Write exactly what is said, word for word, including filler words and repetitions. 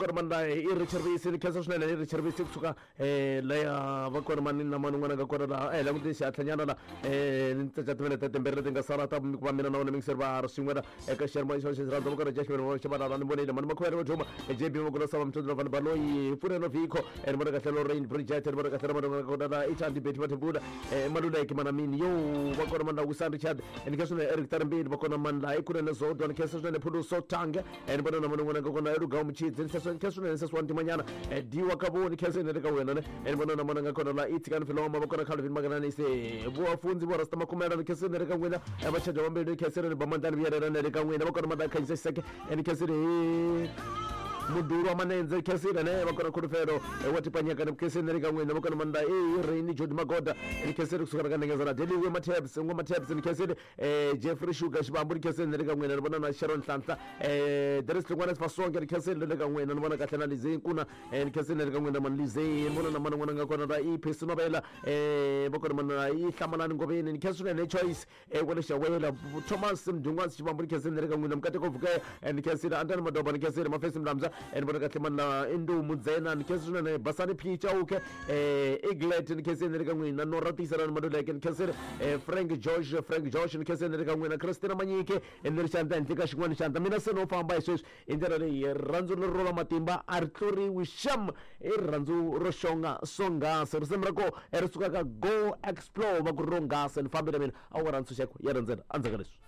kona mani la i Richard Visi ni khensa swinene i Richard Visi kusuka um laya va kona mani na mani un'wana nga kona laha eh languti xihatlanyana la um ni tsaca timinete timbirhi leti nga sala ta ku va mina na wena mingiseri va ri swin'we la eka xiyanimoya xa xi rhandza va kona Jashman Xabalala ni vonile mani makhuvele va juma J B Magula Sava Mthondlo Van Baloyi Pfuneno Vikho ni vona kahle Lorraine Bridget ni vona kahle na mani nga kona la i Thandi Betty Mathebula eh Maluleke Manamini yo va kona mani la Wisan Richard ni khensa swinene Eric Tarimbili va kona mani la i Kunene Zodwa ni khensa swinene Phuluso Tange ni vona na mani un'wana nga kona Lugawu Muchidzi ni khensa swinene Seswani Timanyana Diwa Kavoni khensa ni le ka wena ne ni vona na mani nga kona la i Tsikani Filoma va kona Calvin Maganani se vuafunzi vo Rasta Makumela ni khensa ni le ka n'wina va chaja vambili ni khensa ni Bamandlani Vuyelana ni le ka n'wina va kona mani la Khanyisa Xiseke ni khensa ni Muduru wa Manenze khensile ne va kona Khulufelo wa Tipanyeka ni khensile ni le ka n'wina va kona mani la i Raini Jodi Magoda ni khensile kusuka ka Ndengezana Deliwe Matabs Ngwa Matabs ni khensile eh Jeffrey Sugar Xibambu ni khensile ni le ka n'wina ni vona na Sharon Nhlanhla eh Darius Hlongwane Fasonke ni khensile ni le ka n'wina ni vona kahle na Lizzie Nkuna eh ni khensile ni le ka n'wina mani Lizzie ni vona na mani n'wana nga kona la i Phesi Novela eh va kona mani la i Hlamalani Ngoveni ni khensile ni Choice eh wa le Xawela Thomas Mdungwanzi Xibambu ni khensile ni le ka n'wina Mukateko Vukaya ni khensile Antani Madoba ni khensile Mafesi Mlamza ni vona kahle mani la Ndumu Ndzena ni khensile swinene Basani P Chauke eh Iglet ni khensile ni le ka n'wina Nora Tiyiselani Maluleke ni khensile eh Frank George Frank George ni khensile ni le ka n'wina Christina Manyike ni ri xandla henhla ka xin'wana xandla mina se no famba hi sweswi hi ndlela leyi rirhandzu leri ro va matimba a ri tluriwi xam i rirhandzu ro xonga swonghasi risimu ra ko ri suka ka Go Explore va ku ronghasi ni fambile mina a wu nga ra ntshunxeko ya rhandzela endzhaku ka leswi.